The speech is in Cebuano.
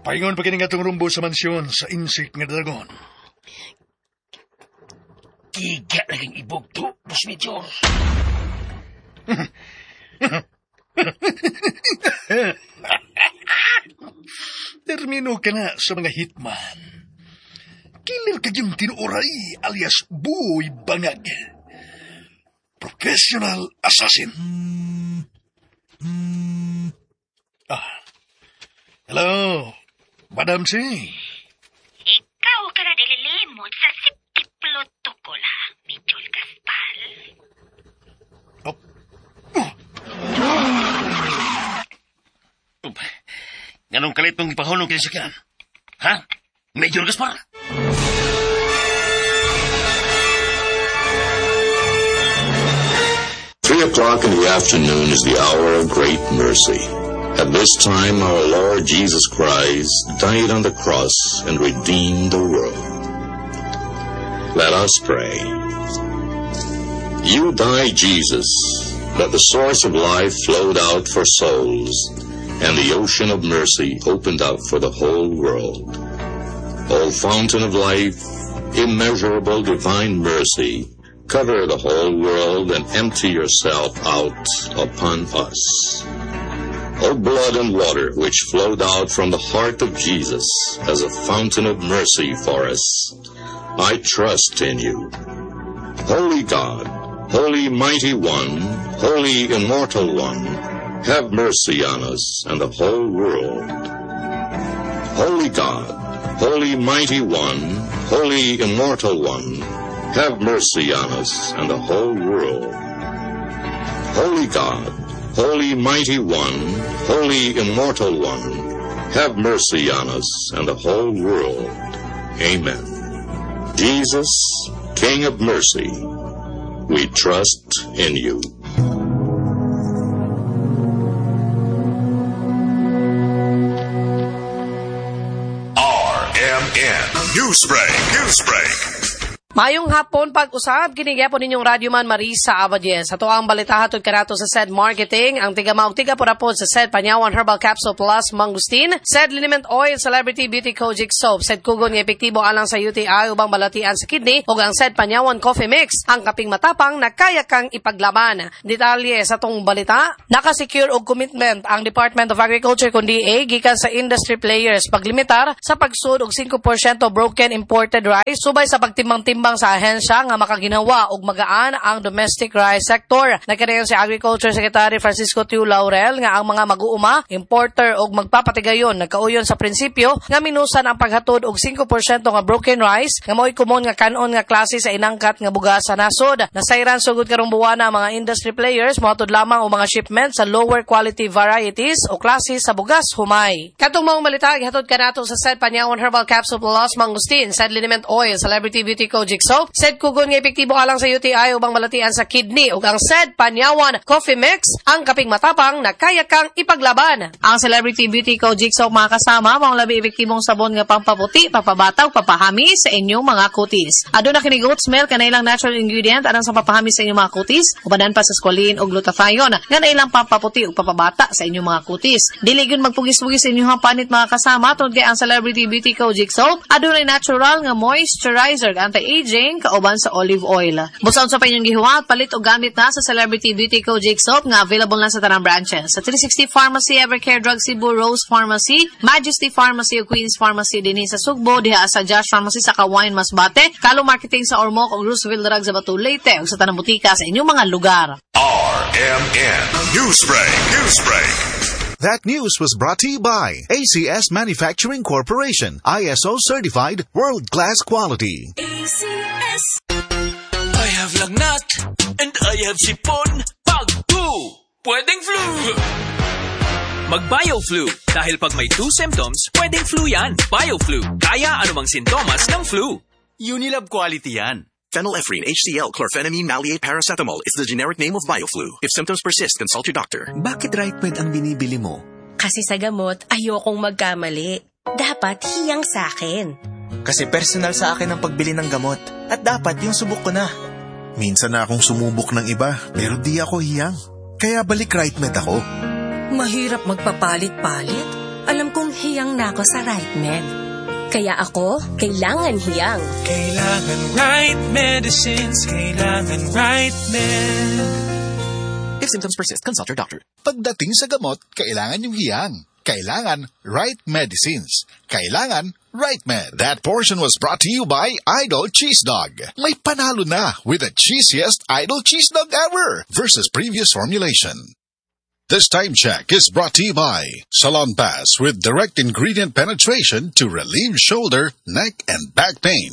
Paingon pa kini nga atong rumbo sa mansyon sa Insik nga Dragon. Giga na kang ibog to, Boss Major. Termino ka na sa mga hitman. Killer ka yung tinuoray alias Buoy Bangag. Professional assassin. Ah. Hello, Madam C. Ikaw ka na nililimot sa safety protocol, ha, Major Gaspar. Oh. Oh. Ganong kalit mong ipahunong kini sa? Ha? Major Gaspar? 3 o'clock in the afternoon is the hour of great mercy. At this time, our Lord Jesus Christ died on the cross and redeemed the world. Let us pray. You died, Jesus, that the source of life flowed out for souls, and the ocean of mercy opened up for the whole world. O fountain of life, immeasurable divine mercy, cover the whole world and empty yourself out upon us. O blood and water which flowed out from the heart of Jesus as a fountain of mercy for us, I trust in you. Holy God, Holy Mighty One, Holy Immortal One, have mercy on us and the whole world. Holy God, Holy Mighty One, Holy Immortal One, have mercy on us and the whole world. Holy God, Holy Mighty One, Holy Immortal One, have mercy on us and the whole world. Amen. Jesus, King of mercy, we trust in you. RMN Newsbreak, Newsbreak. Mayong hapon pag-usab kini gyapon ninyong radyoman Marisa Abadies. Ato ang balita hatod kanato sa SED Marketing, ang tiga maog tiga purapod sa SED Panyawan Herbal Capsule Plus Mangustin, SED Liniment Oil Celebrity Beauty Kojic Soap, SED Kugon nga epektibo alang sa UTI ubang balatian sa kidney ug ang SED Panyawan Coffee Mix, ang kaping matapang na kaya kang ipaglaban. Detalye sa tong balita, nakasecure og commitment ang Department of Agriculture kun DA gikan sa industry players paglimitar sa pagsud og 5% broken imported rice subay sa pagtimbang-timbang sa ahensya nga makaginawa og magaan ang domestic rice sector. Nagkanayon si Agriculture Secretary Francisco Tiu Laurel nga ang mga mag-uuma, importer og magpapatigayon nagkauyon sa prinsipyo nga minusan ang paghatod og 5% nga broken rice nga mao'y komon nga kanon nga klase sa inangkat nga bugas sa nasod. Nasayran sugod karong buwana ang mga industry players mohatod lamang og mga shipment sa lower quality varieties o klase sa bugas humay. Katong maong balita gihatod kanato sa SED Panyawan Herbal Capsule Plus Mangustin, SED Liniment Oil, Celebrity Beauty Kojic Soap, SED Kugon nga epektibo alang sa UTI ubang balatian sa kidney ug ang SED Panyawan Coffee Mix, ang kaping matapang na kaya kang ipaglaban. Ang Celebrity Beauty Kojic Soap mga kasama, maong labi epektibong sabon nga pampaputi, papabataw, papahami sa inyong mga kutis. Aduna kini goat's milk nga nailang natural ingredient alang sa papahami sa inyong mga kutis, ubanan pa sa squalene ug glutathione nga nailang pampaputi ug papabata sa inyong mga kutis. Dili gyud magpugis-pugis sa inyong panit mga kasama tungod kay ang Celebrity Beauty Kojic Soap adunay natural nga moisturizer anti-aging kauban sa olive oil. Busaon sa pa inyong gihuwat, palit og gamit na sa Celebrity Beauty Kojic Soap nga available na sa tanang branches. Sa 360 Pharmacy, Evercare Drug Cebu, Rose Pharmacy, Majesty Pharmacy ug Queen's Pharmacy dinhi sa Sugbo, diha sa Josh Pharmacy sa Kawayan Masbate, Kalo Marketing sa Ormoc ug Roosevelt Drug sa Bato Leyte ug sa tanang butika sa inyong mga lugar. RMN Newsbreak, Newsbreak. That news was brought to you by ACS Manufacturing Corporation, ISO certified, world-class quality. ACS. I have lagnat and I have sipon. Pag two, pwedeng flu. Mag-BioFlu dahil pag may two symptoms, pwedeng flu yan. BioFlu, kaya anumang sintomas ng flu. Unilab quality yan. Phenylephrine, HCl, chlorphenamine, maleate, paracetamol is the generic name of BioFlu. If symptoms persist, consult your doctor. Bakit RiteMed ang binibili mo? Kasi sa gamot, ayokong magkamali. Dapat hiyang sa akin. Kasi personal sa akin ang pagbili ng gamot. At dapat yung subok ko na. Minsan na akong sumubok ng iba, pero di ako hiyang. Kaya balik RiteMed ako. Mahirap magpapalit-palit. Alam kong hiyang na ako sa RiteMed. Kaya ako, kailangan hiyang. Kailangan right medicines, kailangan RiteMed. If symptoms persist, consult your doctor. Pagdating sa gamot, kailangan yung hiyang. Kailangan right medicines. Kailangan RiteMed. That portion was brought to you by Idol Cheese Dog. May panalo na with the cheesiest Idol Cheese Dog ever versus previous formulation. This time check is brought to you by Salonpas with direct ingredient penetration to relieve shoulder, neck, and back pain.